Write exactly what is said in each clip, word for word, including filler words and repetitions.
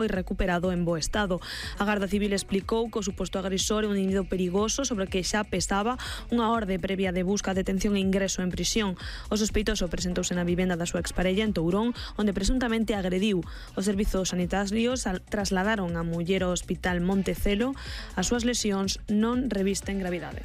foi recuperado en bo estado. A Garda Civil explicou que o suposto agresor é un individuo perigoso sobre o que xa pesaba unha orde previa de busca, detención e ingreso en prisión. O sospeitoso presentouse na vivenda da súa exparella en Tourón, onde presuntamente agrediu. Os servizos sanitarios trasladaron a muller ao hospital Montecelo. As súas lesións non revisten gravidade.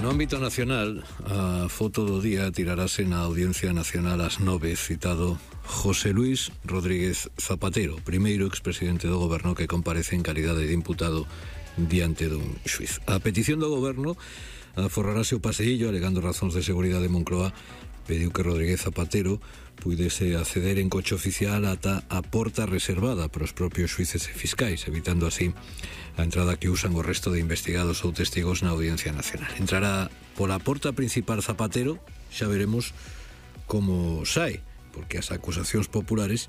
No ámbito nacional, a foto do día tirarase na Audiencia Nacional ás nove, citado José Luis Rodríguez Zapatero, primeiro expresidente do goberno que comparece en calidade de imputado diante dun xuiz. A petición do goberno aforrarase o paseillo alegando razóns de seguridade. Moncloa pediu que Rodríguez Zapatero puidese acceder en coche oficial ata a porta reservada para os propios xuíces e fiscais, evitando así a entrada que usan o resto de investigados ou testigos na Audiencia Nacional. Entrará pola porta principal Zapatero, xa veremos como sai, porque as acusacións populares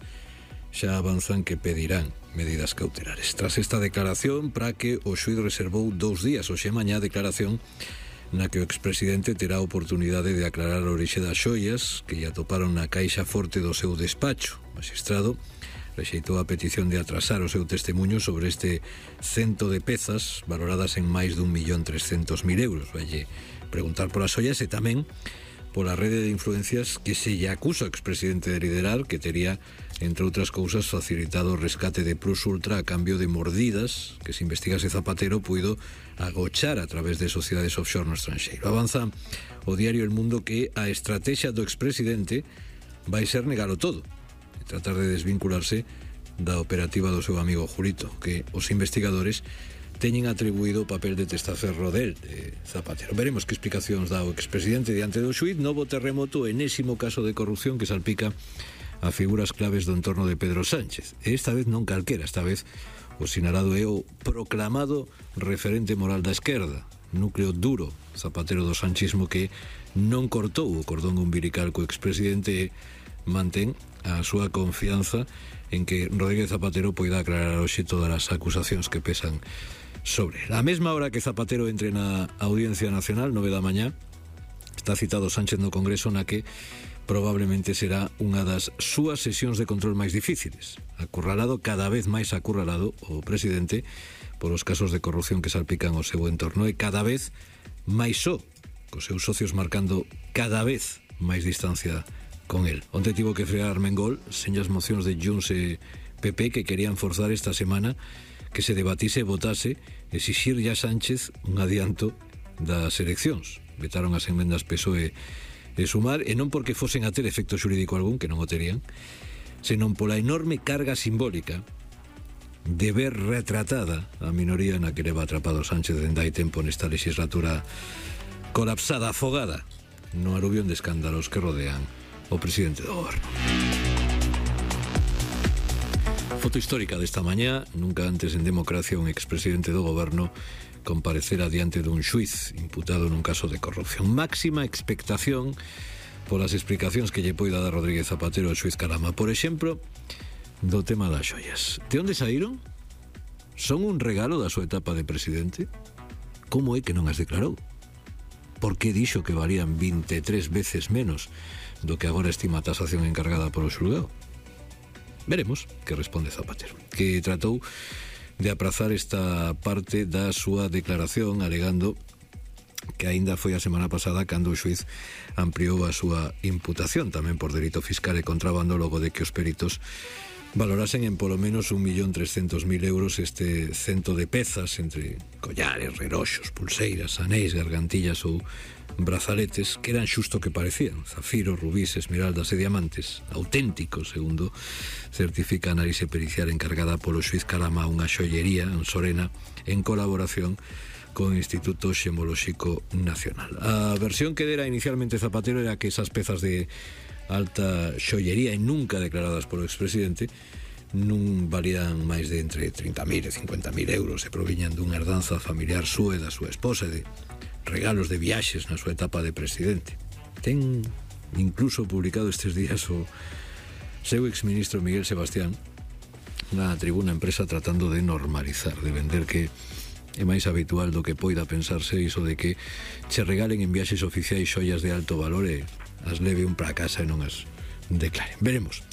xa avanzan que pedirán medidas cautelares. Tras esta declaración, para que o xuíz reservou dous días, hoxe mañá, declaración na que o expresidente terá a oportunidade de aclarar a orixe das xoias que lle atoparon na caixa forte do seu despacho. O magistrado rexeitou a petición de atrasar o seu testemunho sobre este cento de pezas valoradas en máis dun millón trescentos mil euros. Valle preguntar polas xoias e tamén pola rede de influencias que se lle acusa ao expresidente de liderar, que tería, entre outras cousas, facilitado o rescate de Plus Ultra a cambio de mordidas que, se investigase Zapatero, puido agochar a través de sociedades offshore no estranxeiro. Avanza o diario El Mundo que a estrategia do expresidente vai ser negalo todo e tratar de desvincularse da operativa do seu amigo Julito, que os investigadores teñen atribuído o papel de testaferro del, de Zapatero. Veremos que explicacións dá o expresidente diante do xuíz. Novo terremoto, enésimo caso de corrupción que salpica a figuras claves do entorno de Pedro Sánchez. E esta vez non calquera, esta vez o sinalado é o proclamado referente moral da esquerda, núcleo duro Zapatero do sanchismo, que non cortou o cordón umbilical co expresidente e mantén a súa confianza en que Rodríguez Zapatero poida aclarar hoxe todas as acusacións que pesan sobre él. A mesma hora que Zapatero entre na Audiencia Nacional, nove da mañá, está citado Sánchez no Congreso, na que probablemente será unha das súas sesións de control máis difíciles. Acurralado, cada vez máis acurralado, o presidente polos casos de corrupción que salpican o seu entorno, e cada vez máis só, cos seus socios marcando cada vez máis distancia con él. Onte tivo que frear Armengol sen as mocións de Junts e P P que querían forzar esta semana que se debatise e votase exixir ya Sánchez un adianto das eleccións. Vetaron as enmendas P S O E e Sumar, e non porque fosen a ter efecto xurídico algún, que non o terían, senón pola enorme carga simbólica de ver retratada a minoría na que leva atrapado Sánchez dende hai tempo nesta legislatura colapsada, afogada no aluvión de escándalos que rodean o presidente do goberno. Foto histórica desta mañá. Nunca antes en democracia un expresidente do goberno comparecera diante dun xuiz imputado nun caso de corrupción. Máxima expectación polas explicacións que lle poida dar Rodríguez Zapatero ao xuiz Calama. Por exemplo, do tema das xoias. De onde saíron? Son un regalo da súa etapa de presidente? Como é que non as declarou? Por que dixo que valían vinte e tres veces menos do que agora estima a tasación encargada polo xulgado? Veremos que responde Zapatero, que tratou de aprazar esta parte da súa declaración alegando que aínda foi a semana pasada cando o xuiz ampliou a súa imputación tamén por delito fiscal e contrabando, logo de que os peritos valorasen en polo menos un millón trescentos mil euros este cento de pezas entre collares, reloxos, pulseiras, anéis, gargantillas ou brazaletes que eran xusto que parecían zafiros, rubíes, esmeraldas e diamantes auténticos, segundo certifica a análise pericial encargada polo xuiz Calama, unha xoyería en Sorena en colaboración co Instituto Xemolóxico Nacional. A versión que dera inicialmente Zapatero era que esas pezas de alta xollería e nunca declaradas polo expresidente non valían máis de entre trinta mil e cincuenta mil euros e proviñan dunha herdanza familiar súa e da súa esposa e de regalos de viaxes na súa etapa de presidente. Ten incluso publicado estes días o seu exministro Miguel Sebastián na Tribuna Empresa tratando de normalizar, de vender que é máis habitual do que poida pensarse iso de que che regalen en viaxes oficiais xoias de alto valor e as leve un para casa e non as declare. Veremos.